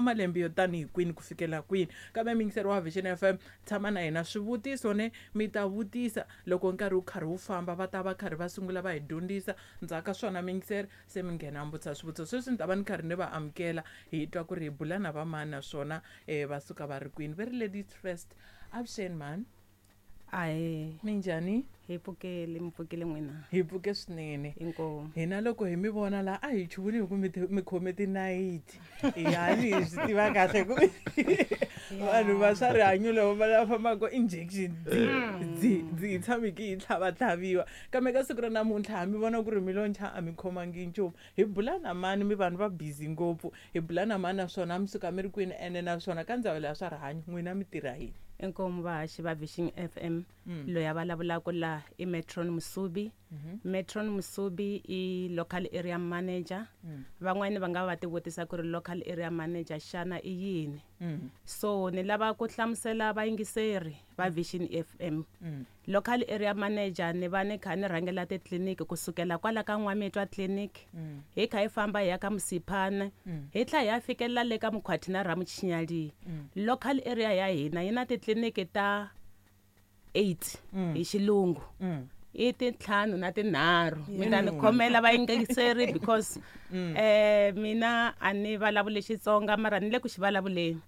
Malembe yo tanihi kwini ku fikela kwini? Kambe muyingiseri wa Vision FM, tshama na hina. Swivutiso ne mi ta vutisa loko nkarhi wu karhi wu famba, va ta va karhi va sungula va hi dyondzisa. Ndzhaku ka swona muyingiseri se mi nghena mi vutisa swivutiso. Sweswi ni ta va ni karhi ni va amukela, hi twa ku ri hi bula na va mani naswona va suka va ri kwini. Va ri ladies first. Avuxeni mhani. Ahee. Minjhani? Hi pfukile, mi pfukile n'wina? Hi pfuke swinene. Inkomu. Hina loko hi mi vona la a hi chuhile hi ku mi khome tinayiti. Yani hi swi tiva kahle ku vanhu va swa rihanyo lava va lava fambaka injection dzi dzi dzi hi tshami ki hi tlhavatlhaviwa. Kambe ka siku ra namuntlha ha mi vona ku ri mi lo ncha a mi khomangi nchumu. Hi bula na mani mi vanhu va busy ngopfu. Hi bula na mani naswona mi suka mi ri kwini ene naswona ka ndzawulo ya swa rihanyo n'wina mi tirha yini? Inkomu vahaxi va Vision FM. Loyi a vulavulaka la i Metron Musubi. Metron Musubi i local area manager. Van'wani va nga va ti vutisa ku ri local area manager xana i yini? So ni lava ku hlamusela vayingiseri va Vision FM. Local area manager ni va ni kha ni rhangela titliliniki kusukela kwala ka N'wamitwa clinic, hi kha hi famba hi ya ka Msiphana, hi tlhela hi ya fikelela le ka Mukhwati na Ramuchinyali. Local area ya hina yi na titliliniki ta 8 hi xilungu. I tintlhanu na tinharhu. Mi ta ni khomela vayingiseri because mina a ni vulavuli Xitsonga mara ni le ku xi vulavuleni.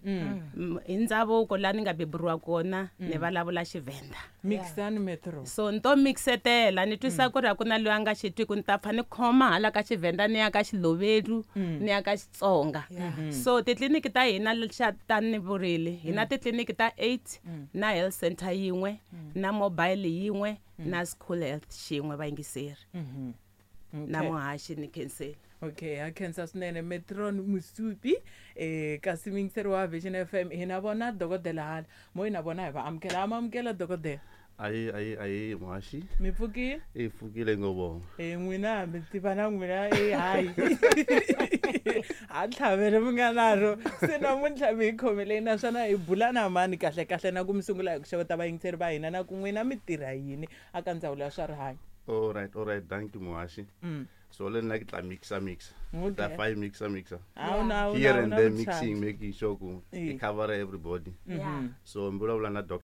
Hi ndhavuko laha ni nga beburiwa kona ni vulavula Xivhenda. Mixani metro. So ni to mixetela ni twisa ku ri a ku na loyi a nga xi twiku, ni ta pfa ni khoma hala ka Xivhenda ni ya ka Xilovedu ni ya ka Xitsonga. So titliliniki ta hina xa ta ni vurile hi na titliliniki ta 8 na health center yin'we na mobile yin'we na school health xin'we vayingiseri. Na muhaxi ni khenseli. Okay, ha khensa swinene Metron Musupi. Kasi muyingiseri wa Vision FM hi na vona dokodela hala mo hi na vona hi va amukela. Ha ma amukela dokodela? Ayi ayi ayi muhaxi. Mi pfukile? I pfukile ngopfu. N'wina mi tiva na n'wina hayi. Ha tlhavele mi nga naro. Se namuntlha mi hi khomeleni naswona hi bula na mani kahle kahle na ku mi sungula hi ku xeweta vayingiseri va hina na ku n'wina mi tirha yini aka ndzawulo ya swa rihanyo. All right, all right, thank you muhaxi. So le nna ke tla mixa mixa. Tla fa mixa mixa. Here and there mixing, making sure ku cover everybody. So mi vulavula na Dr.